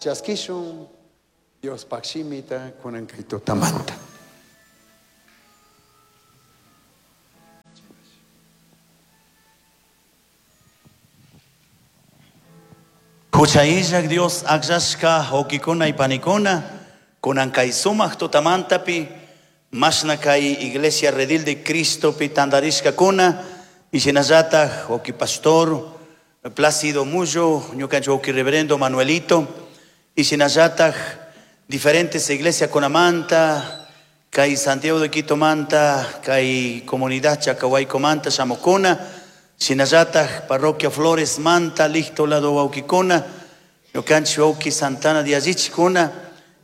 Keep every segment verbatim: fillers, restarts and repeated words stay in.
Chaskishun Dios pakshimita kunan kay tutamanta. Huchayillak Dios akllashka wawkikuna y panikuna kunan kay sumak tutamantapi mashna kay Iglesia Redil de Cristopi tantarishkakuna y shinallatak wawki pastor Plácido Mullo, ñukanchik wawki reverendo Manuelito y shinallatak diferentes iglesia kunamanta kay Santiago de Quito manta kay comunidad Chacahuaycomanta shamukuna shinallatak parroquia Flores manta Licto lado wawkikuna ñukanchik wawki Santana de Allichikuna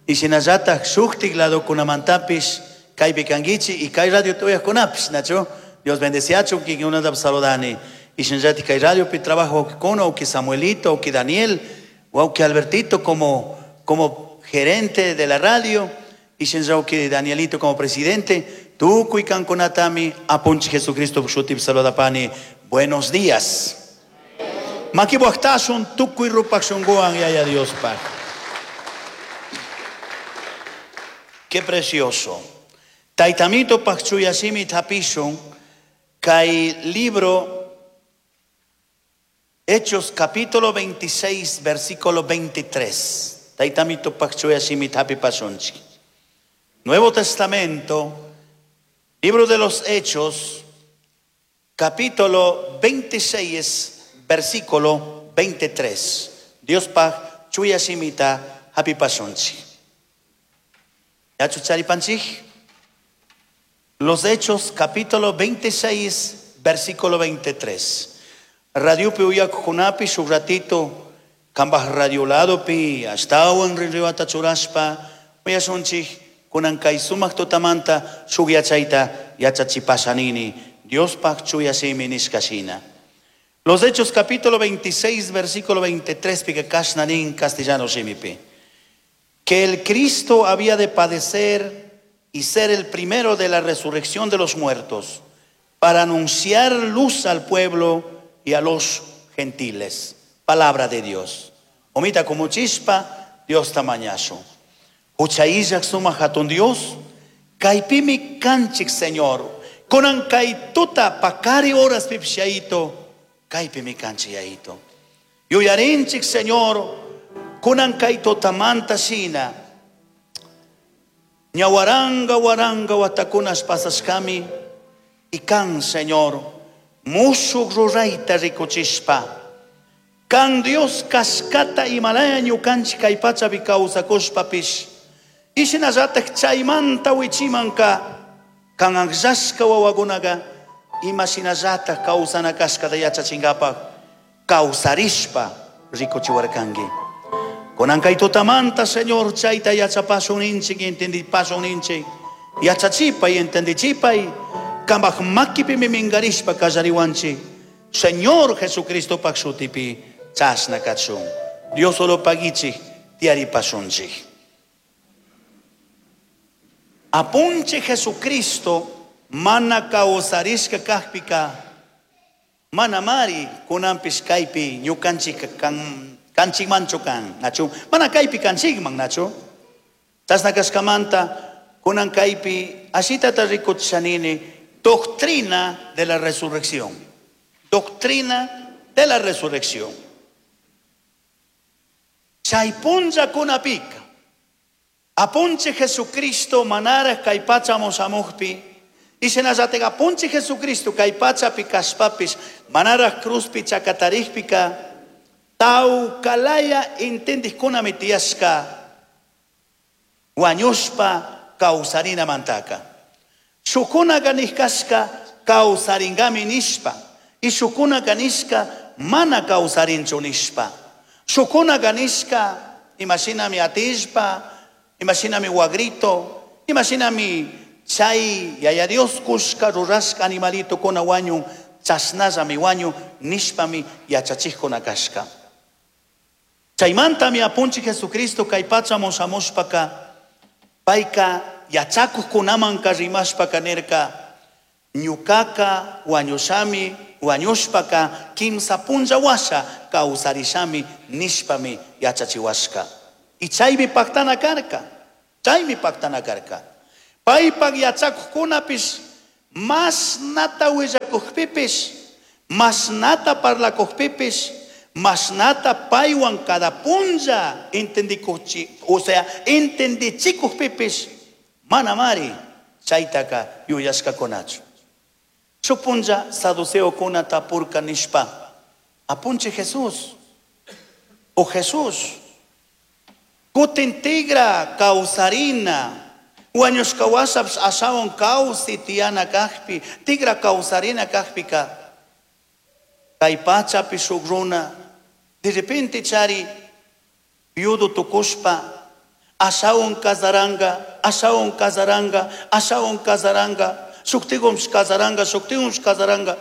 y shinallatak shuktik lado kunamantapish kaypi kankichik y kay radio tuyajkunapish nachu Dios bendeciachun kikinkunata saludani y shinallatik kay radiopi trabajo wawkikuna wawki Samuelito wawki Daniel wawki Albertito como como gerente de la radio y shinallatik Danielito como presidente tukuy kankunatami apunchik Jesucristo shutipi saludapani. Buenos días. Makibuajtashun tukuy rupak shunguwan yaya Diospaj. Qué precioso. Taytamito pajchuyashimi tapishun kay libro Hechos capítulo veintiséis versículo veintitrés. Taytamito pajchuyashimi tapipashunchik. Nuevo Testamento, libro de los Hechos, capítulo veintiséis, versículo veintitrés. Dios pa chuyashimita hapipashunchik. ¿Ya chucharipanchik? Los Hechos, capítulo veintiséis, versículo veintitrés. Radiopi uyakunapi shuk ratito, kambaj radioladopi, ashtawan rinriwata churashpa, uyashunchik, kunan kay sumak tutamanta shuk yachayta yachachipashanini. Dios pak chuyashimi nishkashina. Los Hechos capítulo veintiséis, versículo veintitrés, pica kashnanin castellano shimipi. Que el Cristo había de padecer y ser el primero de la resurrección de los muertos, para anunciar luz al pueblo y a los gentiles. Palabra de Dios. Omita como chispa, Dios tamañazo. Huchayillak suma hatun Dios, kaipimi kanchik Señor. Kunan kay tuta pakari horas pipshaito, kaypimi kanchiyaito. Yuyarinchik Señor, kunan kay tutamanta shina. Ñawaranga waranga watakunas pasashkami, y kan Señor, mushuk rurayta rikuchishpa. Kan Dios kaskata imalaya ñukanchik kay pachapi kawsakushpapish. Ishinallatak chaymanta wichimanka, kan akllashka wawakunaqa imashinallatak kawsana kashkata yachachinkapak kawsarishpa rikuchiwarkanki. Kunan kay tutamanta Señor chayta yachapashun ninchik, entendipashun ninchik, yachachipay, entendichipay, kambaj makipimi minkarishpa kallariwanchik. Señor Jesucristopak shutipi chashna kachun. Dios solo pagichik tiaripashunchik. Apunche Jesucristo mana kawsarishka kajpika mana mari kunanpish kaypi ñukanchik kan kanchikmanchu kan nachu mana kaypi kanchikman nachu chashna kashkamanta kunan kaypi ashitata rikuchishanini doctrina de la resurrección, doctrina de la resurrección. Chay punlla kunapika apunche Jesucristo manara kay pacha moshamujpi y shinallatega apunche Jesucristo kay pachapi kashpapis manara cruzpi chakatarijpika tawkalaya entendijkunami tiyashka wañushpa kawsarina mantaka. Shukunaka nishkashka kawsaringami nishpa y shukunaka nishka mana kawsarinchu nishpa. Shukunaka nishka imashinami atishpa, imashinami wagrito, imashinami chay yaya Dios kushka rurashka animalito kuna wañun chashnallami wañun nishpami yachachijkuna kashka. Chaymantami apunchik Jesucristo kay pacha moshamushpaka payka yachakuqkunamanka rimashpaka nirka ñukaka wañushami wañushpaka kimsa punlla washa kawsarishami nishpami yachachiwashka. Y chaymi pactana karka. Chaymi pactana karka. Paypak yachakuqkunapis mashnata willakuqpipis, mashnata parlakuqpipis, mashnata paywan cada punlla entendikuchi, o sea, entendichikuqpipis, manamari chaytaka yuyashkakunachu. Shuk punlla saduceokuna tapurka nishpa, apunchik Jesús, o Jesús, kutin tigra kawsarina, wañushka washapish ashawan kawsi tiyana kakpi, tigra kawsarina kakpika, kay pachapi shuk runa, de repente chari viudo tukushpa, ashawan kasaranga, ashawan kasaranga, ashawan kasaranga, shuktigunpish kasaranga, shuktigunpish kasaranga,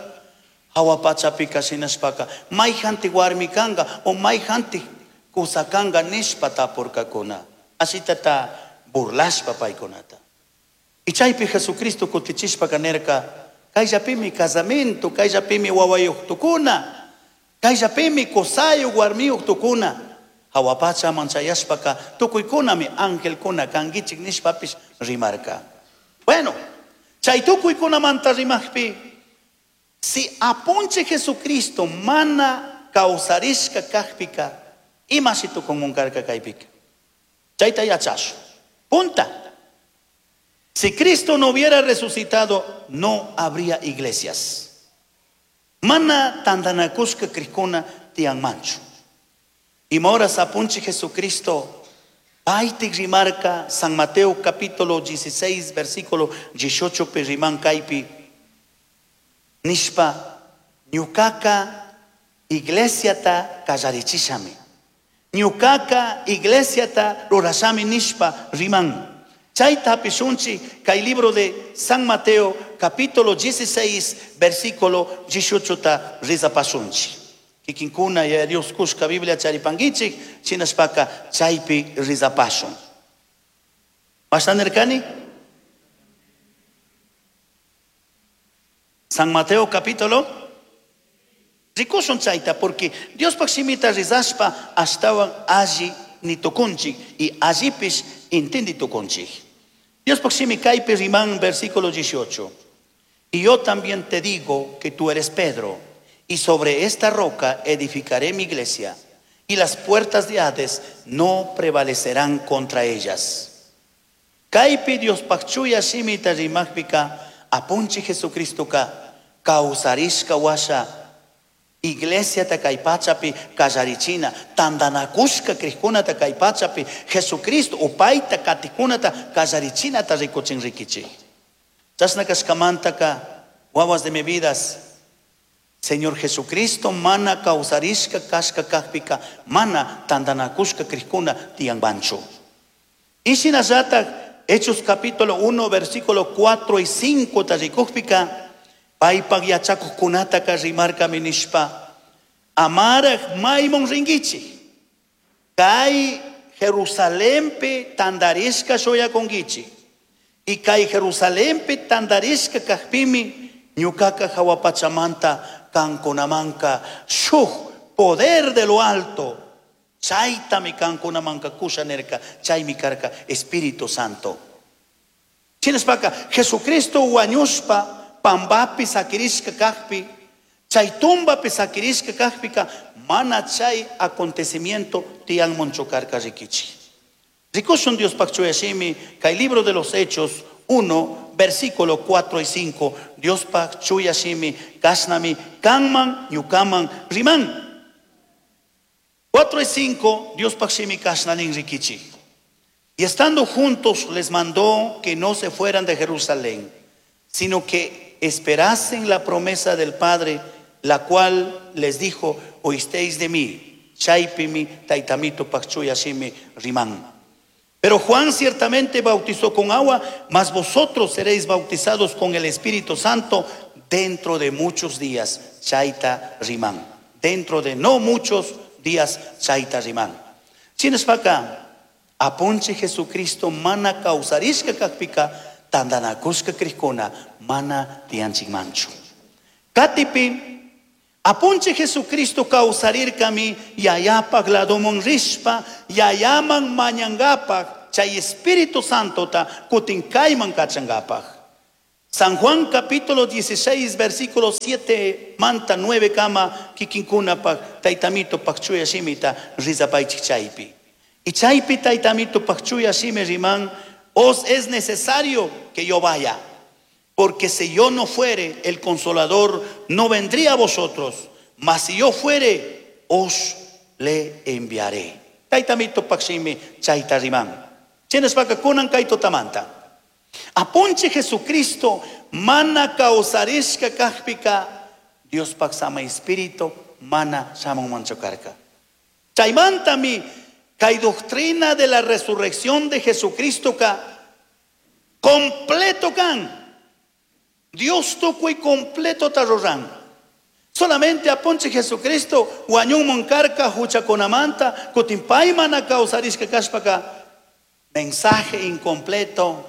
hawa pachapika shinashpaka, mayjantik warmi kanga o mayjantik kusa kanga nishpa tapurkakuna. Ashitata burlashpa paykunata. Y chaypi Jesucristo kutichishpaka nirka, kayllapimi casamiento, kayllapimi wawayuq tukuna, kayllapimi kusayuq warmiyuq tukuna. Hawa pachaman chayashpaka tukuykunami angelkuna kankichik nishpapish rimarka. Bueno, chay tukuykunamanta rimaqpi, si apunchik Jesucristo mana kawsarishka kakpika, imashi tukunmun karka kaypika? Chayta yachashun. Punta. Si Cristo no hubiera resucitado, no habría iglesias. Mana tantanakushka krikuna tiyanmanchu. Ima horas apunchik Jesucristo, paytik rimarka San Mateo capítulo dieciséis, versículo dieciocho pi riman kaypi, nishpa, ñukaka iglesiata kallarichishami. Ñukaka iglesiata rurashami nishpa riman. Chayta hapishunchik kay libro de San Mateo capítulo dieciséis, versículo dieciocho ta rizapashunchik. Kikinkuna ya Dios kushka Biblia charipankichik, shinashpaka chaypi rizapashun. ¿Mashna nirkani? San Mateo capítulo rikushun chayta, porque Dios pak shimita rizashpa ashtawan alli nitukunchik y allipish intendi tukunchik. Dios pak shimi kaypi riman versículo dieciocho. Y yo también te digo que tú eres Pedro, y sobre esta roca edificaré mi iglesia, y las puertas de Hades no prevalecerán contra ellas. Kaypi Dios pak chuya shimita rimajpika apunchi Jesucristo ka kawsarishka washa iglesia ta kay pachapi kallarichina, tantanakushka krikkunata kay pachapi Jesucristo upayta katikunata kallarichinata rikuchin rikichik. Chashna kashkamantaka wawas de mi vidas, Señor Jesucristo mana kawsarishka kashka kakpika mana tantanakushka krikuna tiyanmanchu. Y shinallatak Hechos capítulo uno versículo cuatro y cinco ta rikukpika paypak yachakuqkunataka rimarkami nishpa, amaraj maymun rinkichik, kay Jerusalenpi tantarishka shuyakunkichik, y kay Jerusalenpi tantarishka kakpimi ñukaka hawa pachamanta kankunamanka shuk poder de lo alto, chaytami kankunamanka kusha nirka, chaymi karka Espíritu Santo. Shinashpaka Jesucristo wañushpa pambapi sakirishka kakpi, chay tumbapi sakirishka kakpika mana chay acontecimiento tiyanmanchu karka rikichik. Rikushun Dios pak chuyashimi kay libro de los Hechos uno, versículo cuatro y cinco, Dios pak chuyashimi kasnami kanman ñukaman riman. Cuatro y cinco, Dios pak shimi kasnanin rikichik. Y estando juntos les mandó que no se fueran de Jerusalén, sino que esperasen la promesa del Padre, la cual les dijo, oísteis de mí, chaypimi taitamito pakchuyashimi rimán. Pero Juan ciertamente bautizó con agua, mas vosotros seréis bautizados con el Espíritu Santo dentro de muchos días, chaita rimán. Dentro de no muchos días, chaita rimán. Chinespaka, apunche Jesucristo mana causarishka kakpika, tandanakushka krikuna, mana tianchik manchu. Katipi, Apunchij Jesucristo kawsarirkami yayapak ladoman rishpa yayaman mañangapak chay Espíritu Santota kutin kayman kachangapak. San Juan capítulo dieciséis versículo siete manta nueve kama kikinkunapak taytamito pak chuya shimita rizapaychik chaypi. Y chaypi taytamito pak chuya shimi riman, os es necesario que yo vaya, porque si yo no fuere, el Consolador no vendría a vosotros, mas si yo fuere, os le enviaré. Taytamito pak shimi chayta riman. Chinashpaka kunan kay tutamanta. Apunchij Jesucristo mana kawsarishka kajpika Dios pak sama Espíritu mana shamunmanchu karka. Chaymantami kay doctrina de la resurrección de Jesucristo ka completo kan. Dios tukuy completo ta ruran. Solamente apunchij Jesucristo wañunman karka huchakunamanta kutin pay mana kawsarishka kashpaka mensaje incompleto,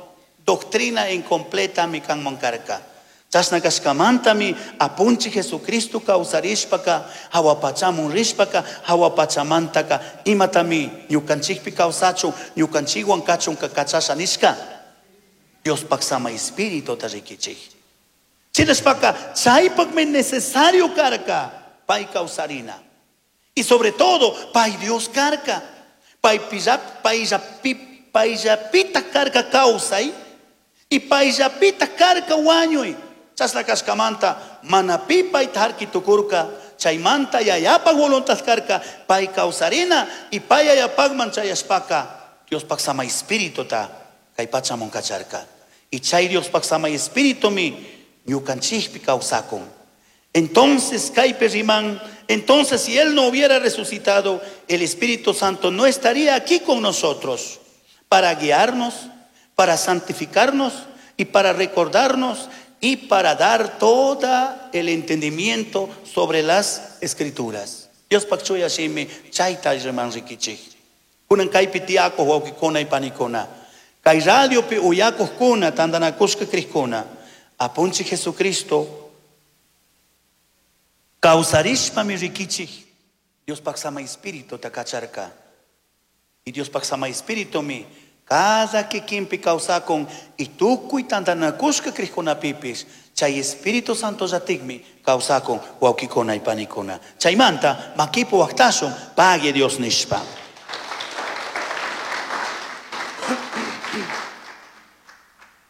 doctrina incompleta mi kanman karka. Chashna kashkamantami apunchij Jesucristo kawsarishpaka hawapachamun rishpaka hawapachamantaka imatami ñukanchikpi kawsachun ñukanchikwan kachun kachasha nishka Dios pak sama Espíritu ta rikichik. Chinashpaka chaypakmi necesario karka pay kawsarina. Y sobre todo pay Dios karka. Pay pillap, payllapi, payllapita karka kawsay y payllapita karka wañuy. Chashna kashkamanta mana pi payta harki tukurka chaymanta yayapa voluntad karka pay kawsarina y pay yayapakman chayashpaka Dios pak sama Espíritu ta kay pachamun kacharka. Y chay Dios pak sama Espíritu mi ñukanchikpi kawsakun. Entonces kaypi riman, entonces si él no hubiera resucitado, el Espíritu Santo no estaría aquí con nosotros para guiarnos, para santificarnos y para recordarnos y para dar todo el entendimiento sobre las Escrituras. Dios pak chuya shimi chayta riman rikichik. Kunan kaypi tiyakuq wawqikuna y panikuna. Kay radiopi uyakuqkuna tantanakushka kriqkuna. Apunchij Jesucristo kawsarishpami rikichik. Dios pak sama Espíritu ta kacharka. Y Dios pak sama Espíritu mi cada kikinpi kawsakun y tukuy tantanakushka kriqkunapipis chay Espíritu Santo llatikmi kawsakun wawqikuna y panikuna. Chaymanta makipu waqtashun pague Dios nishpa.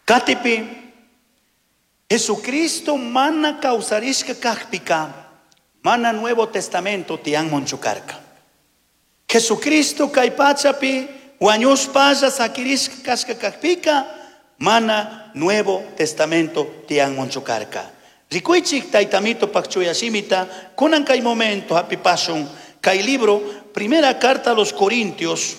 Katipi Jesucristo mana kawsarishka kajpika mana Nuevo Testamento tiyanmanchu karka. Jesucristo kay pachapi wañushpalla sakirishka kashka kajpika mana Nuevo Testamento tiyanmanchu karka. Rikuychik taytamito pak chuya shimita kunan kay momento hapipashun kay libro Primera carta a los Corintios.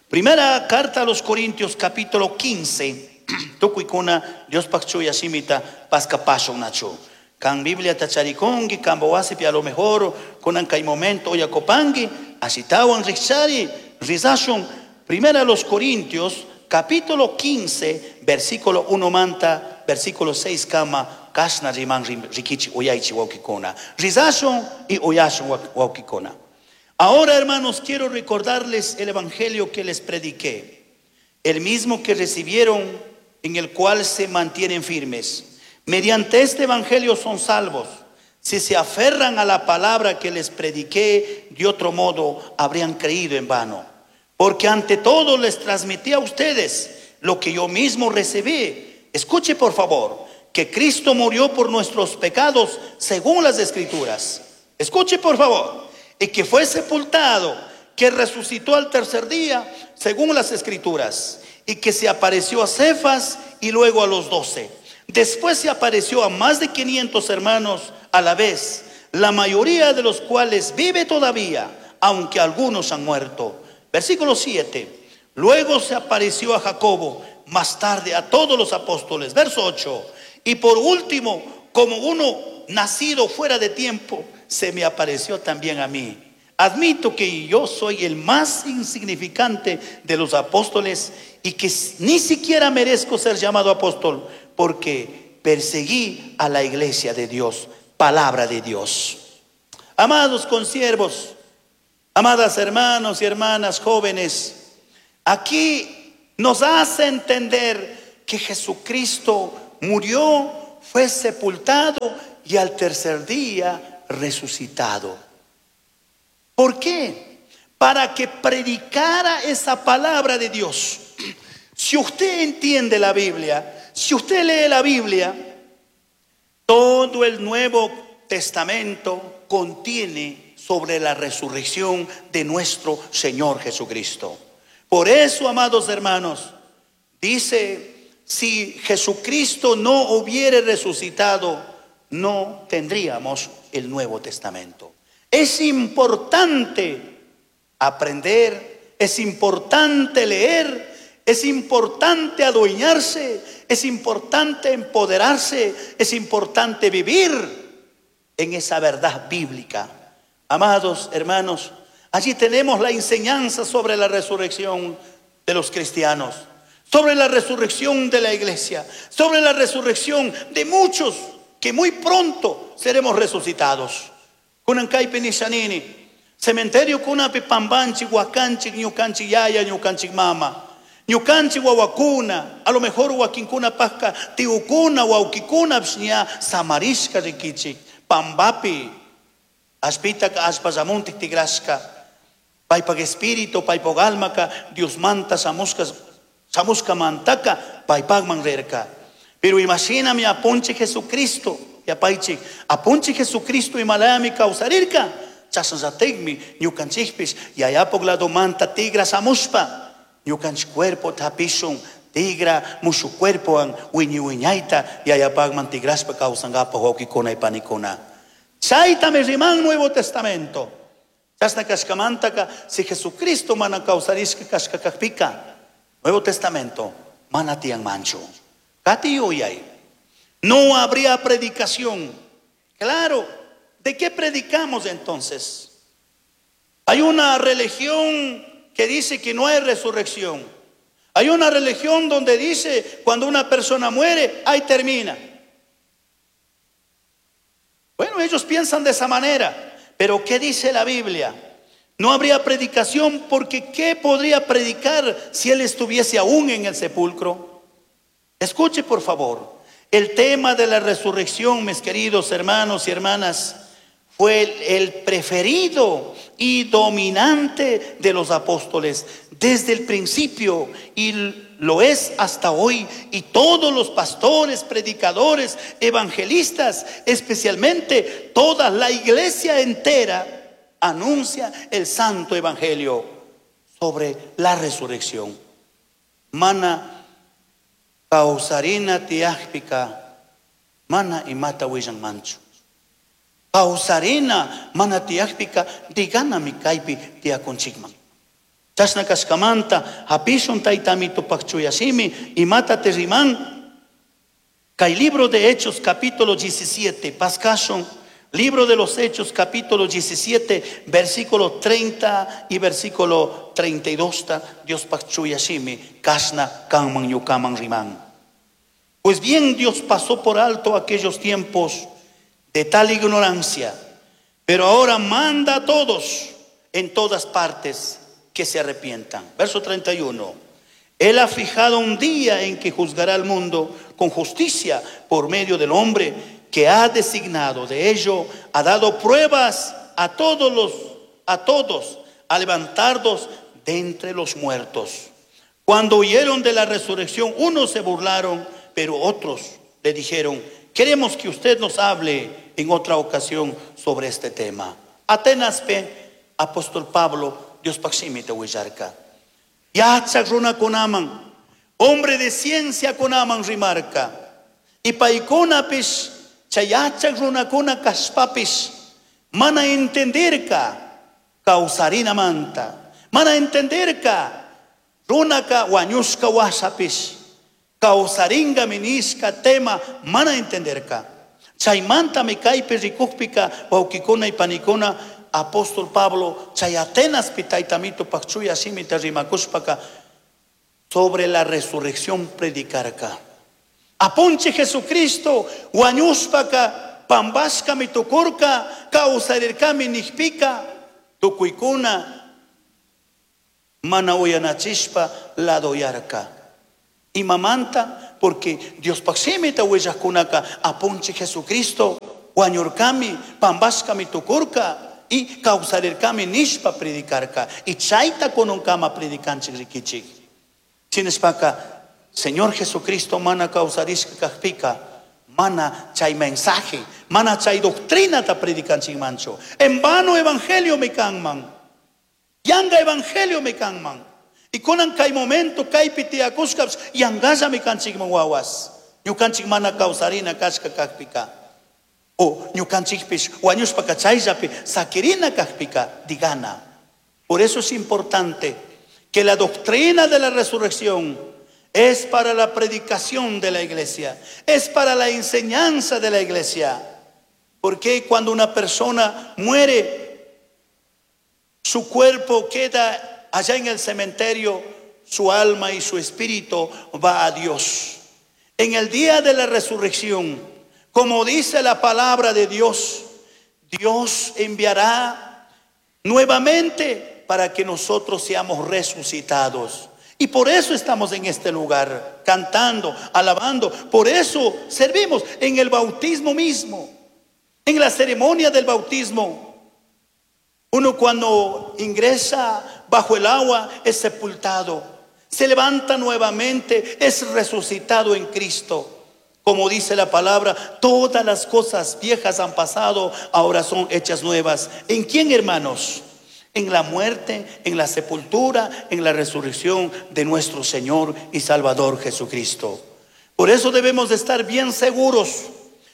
Primera carta a los Corintios capítulo quince. Tukuykuna Dios pak chuya shimita paskapashun nachu. Kan Biblia tacharikungi, kan bawasipi a lo mejor, kunan kay momento oyakopangi, asitawan rikchari, rizashun. Primera a los Corintios, capítulo quince, versículo uno manta, versículo seis kama, kashna riman rikichi oyaichi wawkikuna. Rizashun y oyashun wawkikuna. Ahora, hermanos, quiero recordarles el evangelio que les prediqué, el mismo que recibieron, en el cual se mantienen firmes. Mediante este evangelio son salvos, si se aferran a la palabra que les prediqué, de otro modo habrían creído en vano. Porque ante todo les transmití a ustedes lo que yo mismo recibí. Escuche por favor, que Cristo murió por nuestros pecados según las Escrituras. Escuche por favor, y que fue sepultado, que resucitó al tercer día según las Escrituras, y que se apareció a Cefas y luego a los doce. Después se apareció a más de quinientos hermanos a la vez, la mayoría de los cuales vive todavía, aunque algunos han muerto. Versículo siete. Luego se apareció a Jacobo, más tarde a todos los apóstoles. Verso ocho. Y por último, como uno nacido fuera de tiempo, se me apareció también a mí. Admito que yo soy el más insignificante de los apóstoles y que ni siquiera merezco ser llamado apóstol, porque perseguí a la iglesia de Dios. Palabra de Dios. Amados consiervos, amadas hermanos y hermanas jóvenes, aquí nos hace entender que Jesucristo murió, fue sepultado y al tercer día resucitado. ¿Por qué? Para que predicara esa palabra de Dios. Si usted entiende la Biblia, si usted lee la Biblia, todo el Nuevo Testamento contiene sobre la resurrección de nuestro Señor Jesucristo. Por eso, amados hermanos, dice, si Jesucristo no hubiere resucitado, no tendríamos el Nuevo Testamento. Es importante aprender, es importante leer, es importante adueñarse, es importante empoderarse, es importante vivir en esa verdad bíblica. Amados hermanos, allí tenemos la enseñanza sobre la resurrección de los cristianos, sobre la resurrección de la iglesia, sobre la resurrección de muchos que muy pronto seremos resucitados. Kunankaypi nishanini, cementerio kunapi pambanchik, wakanchik, ñukanchik yaya, ñukanchik mama, ñukanchik wawakuna, a lo mejor wakinkuna pajka, tiukuna, wawkikuna, pshña, samarishka rikichik, pambapi, ashpitaka ashpallamuntik tigrashka, paypak espíritu, paypak almaka, Dios manta shamushka, shamushka mantaka, paypakman rirka. Pero imagíname apunche Jesucristo, yapaychik, apunche Jesucristo imalami kawsarirka, chasnallatikmi ñukanchikpish yayapuk lado manta tigra shamushpa, ñukanchik cuerpo tapishun, tigra mushu cuerpowan wiñi wiñayta yayapakman tigrashpa kawsankapak wawkikuna y panikuna. Chaytami riman Nuevo Testamento. Chasna kashkamantaka, si Jesucristo mana kawsarishka kashka kakpika, Nuevo Testamento mana tiyanmanchu. Kati yuyay. No habría predicación. Claro, ¿de qué predicamos entonces? Hay una religión que dice que no hay resurrección. Hay una religión donde dice cuando una persona muere, ahí termina. Bueno, ellos piensan de esa manera. Pero ¿qué dice la Biblia? No habría predicación porque ¿qué podría predicar si él estuviese aún en el sepulcro? Escuche por favor. El tema de la resurrección, mis queridos hermanos y hermanas, fue el, el preferido y dominante de los apóstoles desde el principio y lo es hasta hoy. Y todos los pastores, predicadores, evangelistas, especialmente toda la iglesia entera, anuncia el santo evangelio sobre la resurrección. Mana kawsarina tiyakpika, mana imata willanmanchu. Kawsarina mana tiyakpika, diganami kaypi tiyakunchikman. Chashna kashkamanta, hapishun taytamito pakchuyashimi, imata te riman. Kay libro de Hechos capítulo diecisiete, paskashun, libro de los Hechos capítulo diecisiete, versículo treinta y versículo treinta y dos, Dios pakchuyashimi, kashna kanman yukaman riman. Pues bien, Dios pasó por alto aquellos tiempos de tal ignorancia, pero ahora manda a todos en todas partes que se arrepientan. Verso treinta y uno. Él ha fijado un día en que juzgará al mundo con justicia por medio del hombre que ha designado. De ello ha dado pruebas a todos los, a todos, a levantarlos de entre los muertos. Cuando oyeron de la resurrección, unos se burlaron, pero otros le dijeron: queremos que usted nos hable en otra ocasión sobre este tema. Atenas pe, apóstol Pablo, Dios paximite huillarca. Yachak runakunaman, hombre de ciencia kunaman rimarca. Y paykunapis, chay yachak runakuna kashpapis, mana entenderka kawsarina manta. Mana entenderka runaka wañushka wasapis, kawsaringa minishka tema, mana entenderka. Chaymanta mi kaypi rikukpika, wawkikuna y panikuna, apóstol Pablo, chay Atenas pitaytamito pakchuya simita rimakushpaka, sobre la resurrección predicarka. Apunche Jesucristo, wañushpaka, Pambashkami tukurka, kawsarirkami nijpika, tukuykuna mana uyanachishpa ladoyarka. Imamanta, porque Diospaj shimita willajkunaka apunchij Jesucristo wañurkami, pambashkami tukurka y kawsarirkami nishpa predicarka. Y chayta kununkama predicanchik rikichik. Shinashpaka, Señor Jesucristo mana kawsarishka kajpika, mana chay mensaje, mana chay doctrinata predicanchikmanchu. En vano evangelio mi kanman. Yanga evangelio mi kanman. Y kunan kay momento kaypi tiyakushkapish yangalla mi kanchikman wawas. Ñukanchik mana kawsarina kashka kajpika. O ñukanchikpish wañushpaka chayllapi sakirina kajpika digana. Por eso es importante que la doctrina de la resurrección es para la predicación de la iglesia, es para la enseñanza de la iglesia. Porque cuando una persona muere, su cuerpo queda allá en el cementerio, su alma y su espíritu va a Dios. En el día de la resurrección, como dice la palabra de Dios, Dios enviará nuevamente para que nosotros seamos resucitados. Y por eso estamos en este lugar, cantando, alabando. Por eso servimos en el bautismo mismo, en la ceremonia del bautismo. Uno cuando ingresa bajo el agua es sepultado, se levanta nuevamente, es resucitado en Cristo. Como dice la palabra, todas las cosas viejas han pasado, ahora son hechas nuevas. ¿En quién, hermanos? En la muerte, en la sepultura, en la resurrección de nuestro Señor y Salvador Jesucristo. Por eso debemos de estar bien seguros.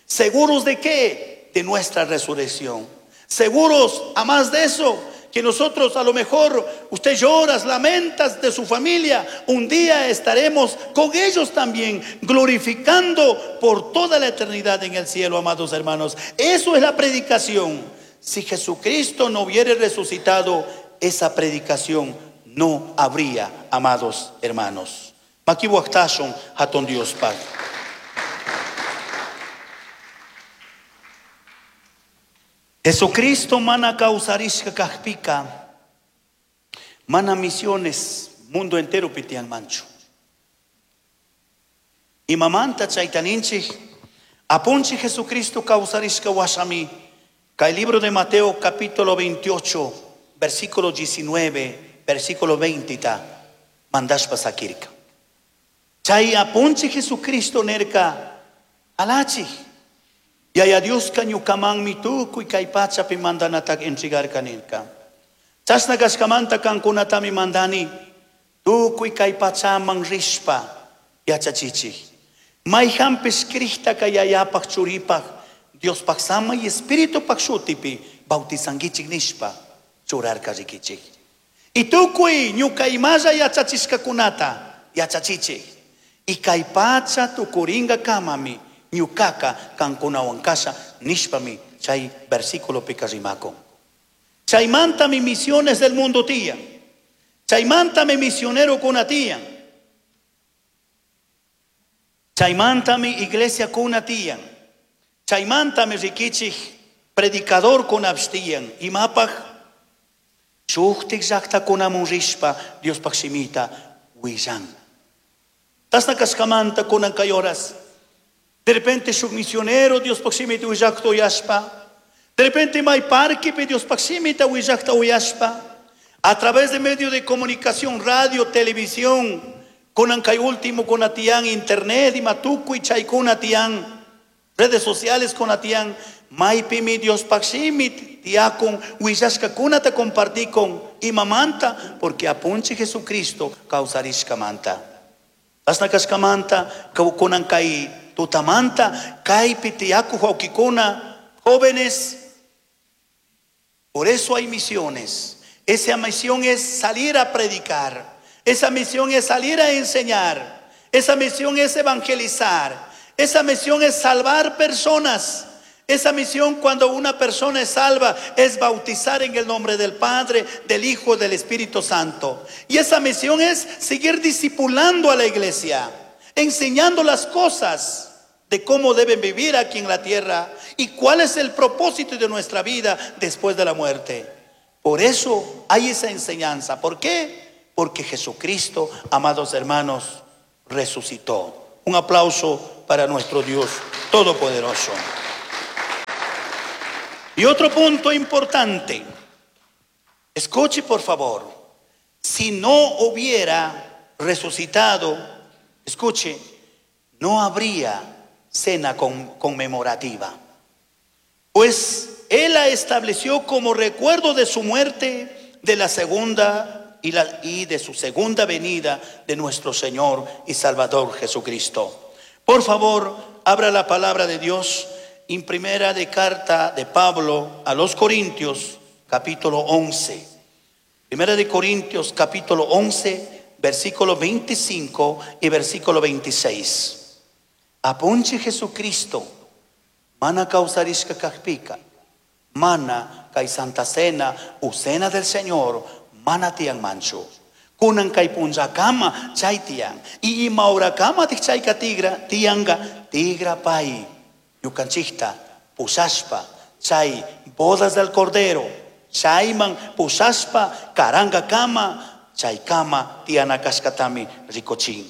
¿Seguros de qué? De nuestra resurrección. Seguros, a más de eso, que nosotros a lo mejor usted llora, lamentas de su familia, un día estaremos con ellos también, glorificando por toda la eternidad en el cielo, amados hermanos. Eso es la predicación. Si Jesucristo no hubiera resucitado, esa predicación no habría, amados hermanos. Makibuaktashon hatun Dios Padre. Jesucristo mana kawsarishka kajpika, mana misiones mundo entero pitian manchu. Imamanta chaytaninchik, apunchi Jesucristo kawsarishka washami. Kay libro de Mateo capítulo veintiocho, versículo diecinueve, versículo veinte ta, mandashpa sakirka. Chay apunchi Jesucristo nerka alachi. Yaya Dios ñukamanmi tukuy kay pachapi mandanatak entregarka nirka. Chashna kashkamanta kankunatami mandani tukuy kay pachaman rishpa yachachichik. Mayhanpish Cristaka yayapaj churipaj Diospaj sama y Espiritupaj shutipi bautizankichik nishpa churarka rikichik. Y tukuy ñuka imalla yachachishkakunata yachachichik. Y kay pacha tukuringa kamami ñukaka kankunawan kasha nishpami chay versículo pika rimako. Chaymantami misiones del mundo tía. Chaymantami misionero kuna tía. Chaymantami iglesia kuna tía. Chaymantami rikichik predicador kuna tiyan. Imapaj shuktik llaqta kunamun rishpa Diospaj shimita willan. Tasna kashkamanta kunan kay horas. De repente shuk misionero Diospaj shimita willaqta uyashpa. De repente may parque pe Diospaj shimita willaqta uyashpa. A través de medios de comunicación, radio, televisión, kunan kay último kunatian internet, imatukuy chay kunatian, redes sociales kunatian, maypimi Diospaj shimit tiakun willashka kunata compartikun imamanta, porque apunchi Jesucristo kawsarishkamanta. Asna kashkamanta kunan kay tutamanta, kaypi tiyaku wawkikuna, jóvenes. Por eso hay misiones. Esa misión es salir a predicar. Esa misión es salir a enseñar. Esa misión es evangelizar. Esa misión es salvar personas. Esa misión, cuando una persona es salva, es bautizar en el nombre del Padre, del Hijo, del Espíritu Santo. Y esa misión es seguir discipulando a la iglesia, enseñando las cosas. de cómo deben vivir aquí en la tierra y cuál es el propósito de nuestra vida después de la muerte. Por eso hay esa enseñanza. ¿Por qué? Porque Jesucristo, amados hermanos, resucitó. Un aplauso para nuestro Dios Todopoderoso. Y otro punto importante, escuche por favor, si no hubiera resucitado, escuche, no habría cena conmemorativa. Pues Él la estableció como recuerdo de su muerte, de la segunda y, la, y de su segunda venida de nuestro Señor y Salvador Jesucristo. Por favor, abra la palabra de Dios en primera de carta de Pablo a los Corintios, capítulo once. Primera de Corintios, capítulo once, versículo veinticinco y versículo veintiséis. Apunche Jesucristo, mana causarishka kajpika, mana kay Santa Cena u Cena del Señor, mana tian manchu. Kunan kay punllakama chay tian. Y imaurakama chayka tigra, tianga, tigra pai. Ñukanchikta pusashpa chay bodas del Cordero, chayman pusashpa karanga kama, chay kama tiana kashkatami rikochin.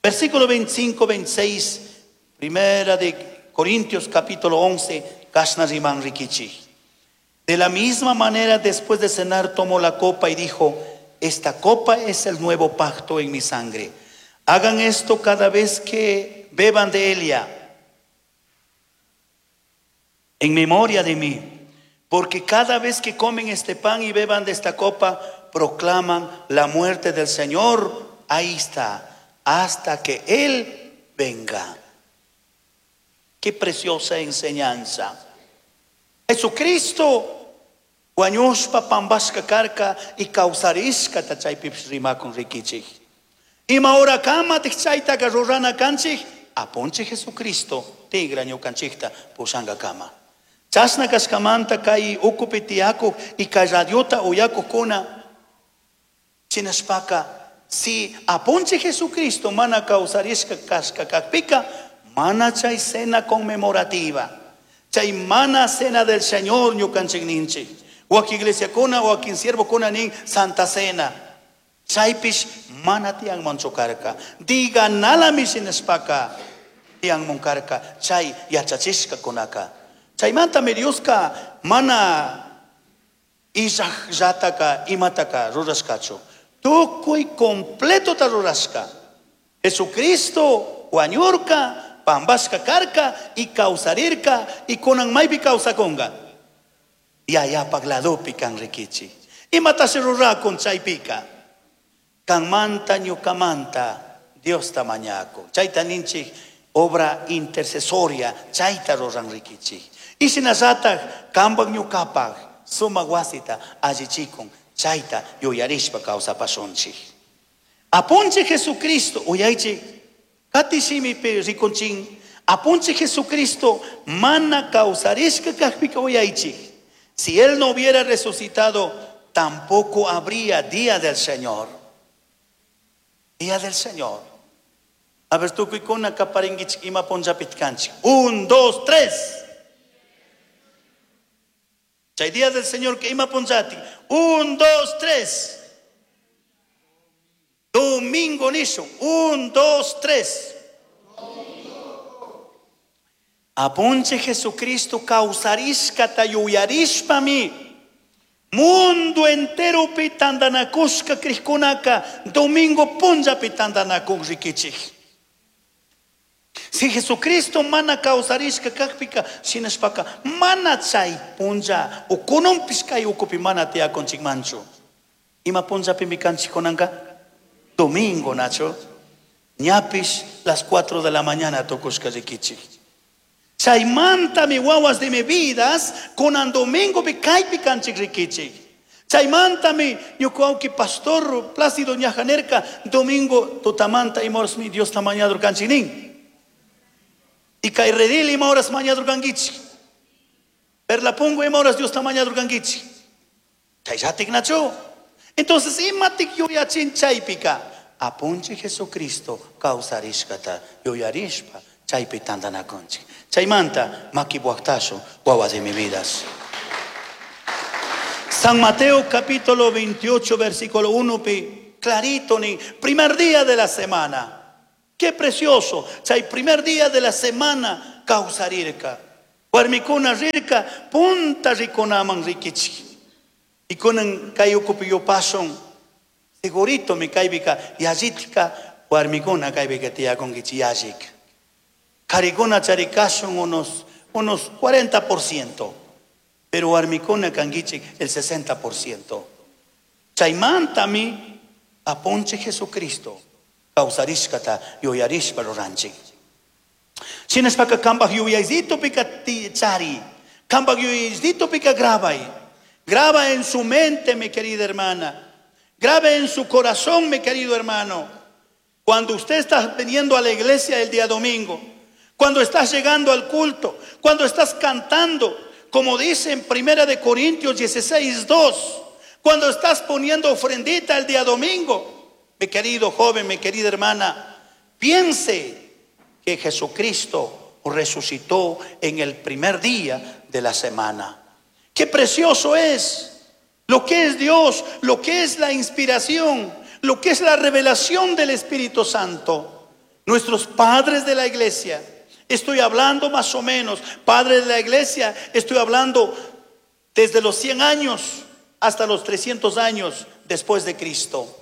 Versículo veinticinco, veintiséis, primera de Corintios capítulo once, kashna riman rikichi. De la misma manera, después de cenar, tomó la copa y dijo: esta copa es el nuevo pacto en mi sangre. Hagan esto cada vez que beban de ella, en memoria de mí. Porque cada vez que comen este pan y beban de esta copa, proclaman la muerte del Señor. Ahí está, hasta que Él venga. Qué preciosa enseñanza. Jesucristo wañushpa pambashka karka y kawsarishka chaypipish rimakun rikichik. Ima hora kama chaytaka rurana kanchik, apunchik Jesucristo tigra ñukanchikta pushanga kama. Chashna kashkamanta kay ukupi tiyakuq y kay radiota uyakuqkuna chinashpaka, si apunchik Jesucristo mana kawsarishka kashka kakpika, mana chay cena conmemorativa, chay mana cena del Señor ñukanchik ninchik. Waki iglesia kuna, waki siervo kuna nin Santa Cena. Chaypish mana tiyan manchukarka. Diga nalami sinespaka tiyan munkarka. Chay yachachishka kunaka. Chaymanta mi Dioska mana illajllataka imataka rurashkachu. Tukuy completo ta rurashka. Jesucristo wañurka, pambashka karka y kawsarirka y kunan maypi kawsakunga. Yaya pagladopi kan rikichi. Imatashi rurakun chaypika. Kanmanta ñukamanta Dios ta mañako. Chayta ninchik obra intercesoria chayta ruran rikichi. Y shinallataq kanpak ñukapak sumak wasita allichikun chayta yuyarishpa kawsapashunchik. Apunchik Jesucristo uyaychik katishimipi rikunchin. Apunchik Jesucristo mana kawsarishka kajpika uyaychik. Si Él no hubiera resucitado, tampoco habría día del Señor. Día del Señor. A ver, tú kuikuna kaparinguich ima punllapitkanchik. Un, dos, tres. Chay día del Señor que ima punllati. Un, dos, tres. Domingo nisho. Un, dos, tres. Apunche Jesucristo kawsarishkata yuyarishpami mundo entero pitandanakushka krishkunaka domingo punlla pitandanakuk rikichik. Si Jesucristo mana kawsarishka kakpika shinashpaka mana chay punlla ukununpish kay ukupi mana tiyakunchikmanchu. Ima punllapimi kanchikkunanka? Domingo nacho. Ñapish las cuatro de la mañana tukushka rikichik. Chaymanta mi wawas de mi vidas kunan domingo pi kaypi kanchik rikichik. Chaymanta mi ñuqawki pastor Plácido ñajanerka domingo tutamanta ima horas mi Dios ta mañador kanchik nin. Y kay redil ima horas mañador kankichik. Perlapungo ima horas Dios ta mañador kankichik. Chayllatik nachu. Entonces imatik yuyachin chaypika. Apunchi Jesucristo kawsarishkata yuyarishpa Chaypi tantanakunchik. Chaymanta makipuaqtasu wawas de mi vidas. San Mateo capítulo veintiocho versículo uno pi clarito ni primer día de la semana. Qué precioso. Chay primer día de la semana kawsarirka. Warmikuna rirka punta rikunaman rikichik. Y kunan kay ukupi yupasun segurito mi kaypika yallitka warmikuna kaypika tiyakunkichik yallik. Karikuna charikasun unos, unos cuarenta por ciento. Pero warmikuna kankichik el sesenta por ciento. Chaymantami apunche Jesucristo kawsarishkata yuyarishpa ruranchik. Shinashpaka kambaj yuyaysito pika chari, kambaj yuyaysito pika grabay. Graba en su mente, mi querida hermana. Grabe en su corazón, mi querido hermano. Cuando usted está viniendo a la iglesia el día domingo, cuando estás llegando al culto, cuando estás cantando, como dice en Primera de Corintios dieciséis, dos, cuando estás poniendo ofrendita el día domingo, mi querido joven, mi querida hermana, piense que Jesucristo resucitó en el primer día de la semana. Qué precioso es lo que es Dios, lo que es la inspiración, lo que es la revelación del Espíritu Santo. Nuestros padres de la iglesia, estoy hablando más o menos, padres de la iglesia, estoy hablando desde los cien años hasta los trescientos años después de Cristo.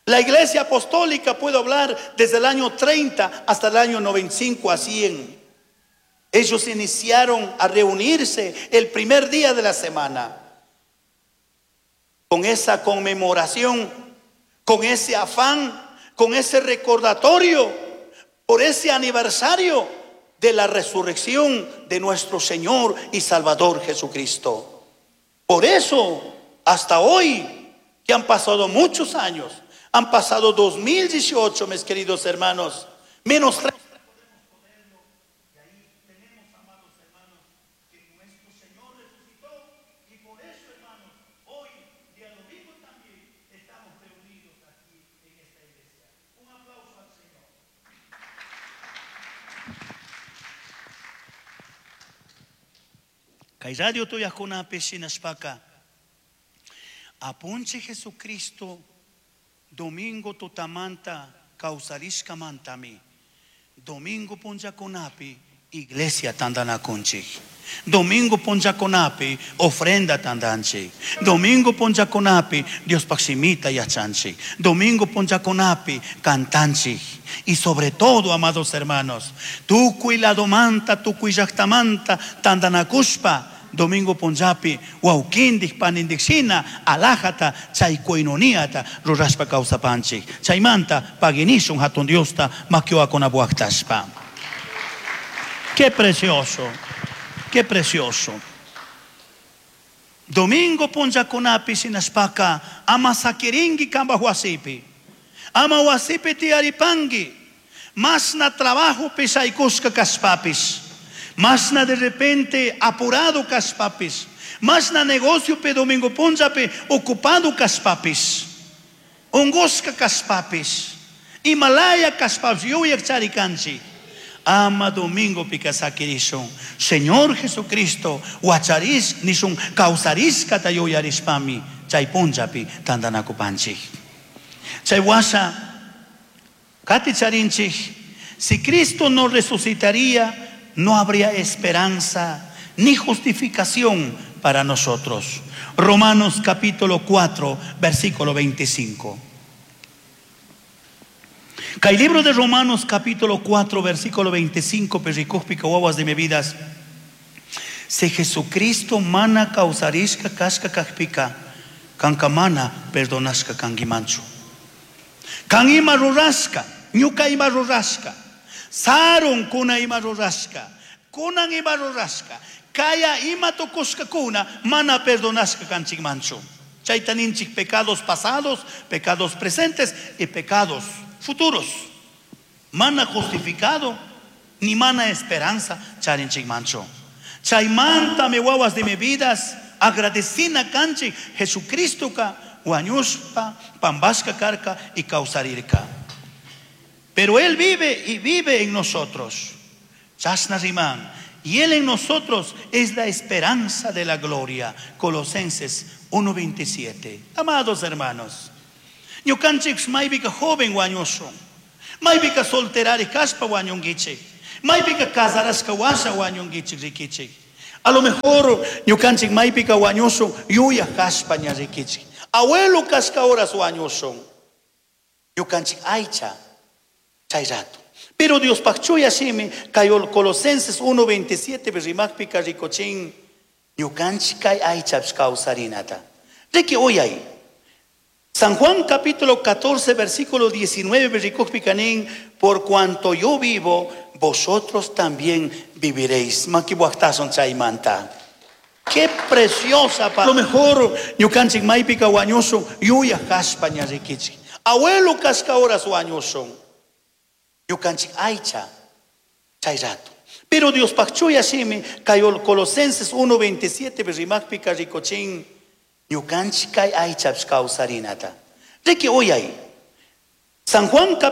La iglesia apostólica puedo hablar desde el año treinta hasta el año noventa y cinco a cien. Ellos iniciaron a reunirse el primer día de la semana. Con esa conmemoración, con ese afán, con ese recordatorio, por ese aniversario de la resurrección de nuestro Señor y Salvador Jesucristo. Por eso, hasta hoy, que han pasado muchos años, han pasado dos mil dieciocho, mis queridos hermanos, menos tres. Kay radio tuyajkunapi shinashpaka apunche Jesucristo domingo tutamanta kawsarishkamantami domingo punllakunapi iglesia tantanakunchik, domingo punllakunapi ofrenda tantanchik, domingo punllakunapi Diospaj shimita yachanchik, domingo punllakunapi cantanchik. Y sobre todo, amados hermanos, tukuy ladomanta, tukuy llaqtamanta tantanakushpa domingo punllapi wawkindik panindik shina alajata chay koinoniata rurashpa kawsapanchik. Chaymanta paginishun hatun Diosta makiwakunapuaqtashpa. Qué precioso, qué precioso. Domingo punllakunapi shinashpaka ama sakiringi kamba huasipi, ama huasipi tiaripangi, masna trabajo pisaykushka kashpapis, masna de repente apurado kashpapis, masna negocio pe domingo punllapi ocupado kashpapis, ungushka kashpapis, Himalaya kashpapis, yuyak charikanchi. Ama domingo pikasakirishun. Señor Jesucristo, wacharis nishun kawsarishkata yuyarishpami chay punllapi tantanakupanchik. Chay washa kati charinchik, si Cristo no resucitaría, no habría esperanza ni justificación para nosotros. Romanos capítulo cuatro, versículo veinticinco. Kay libro de Romanos capítulo cuatro, versículo veinticinco, pericúspica guaguas de mi vidas. Si Jesucristo mana causarishka kashka kajpika, kankamana perdonashka kangimanchu. Kan ima rurashka, ñuka ima rurashka, sarun kuna ima rurashka, kunan ima rurashka, kaya ima tukushka kuna, mana perdonashka kanchikmanchu. Chayta ninchik pecados pasados, pecados presentes y pecados futuros. Mana justificado, ni mana esperanza, charinchik mancho. Chaymanta me guaguas de mi vidas, agradecina kanchik Jesucristo ka wañushpa, pambashka karka y causarirka. Pero Él vive y vive en nosotros. Chashna riman. Y Él en nosotros es la esperanza de la gloria. Colosenses uno veintisiete. Amados hermanos, ñukanchik maybika joven wañushun. Maybika solterari kashpa wañunkichik. Maybika casarashka washa wañunkichik rikichik. A lo mejor ñukanchik maypika wañushun yuyaj kashpa ña rikichik. Abuelo kashka horas wañushun. Ñukanchik aycha chay rato. Pero Dios chuya shimi kay Colosenses uno veintisiete rimakpika rikuchin ñukanchik kay aychapish kawsarinata. Riki uyay. San Juan capítulo catorce versículo diecinueve rikukpika nin, por cuanto yo vivo, vosotros también viviréis. Maki chaymanta. Qué preciosa. A lo mejor ñukanchik maypika wañushun yuyaj kashpa ña rikichik. Abuelo kashka horas wañushun. Ñukanchik aycha chay rato. Pero Dios chuya shimi kay Colosenses uno veintisiete rimakpika rikuchin ñukanchik kay aychapish kawsarinata. Riki uyay. San Juan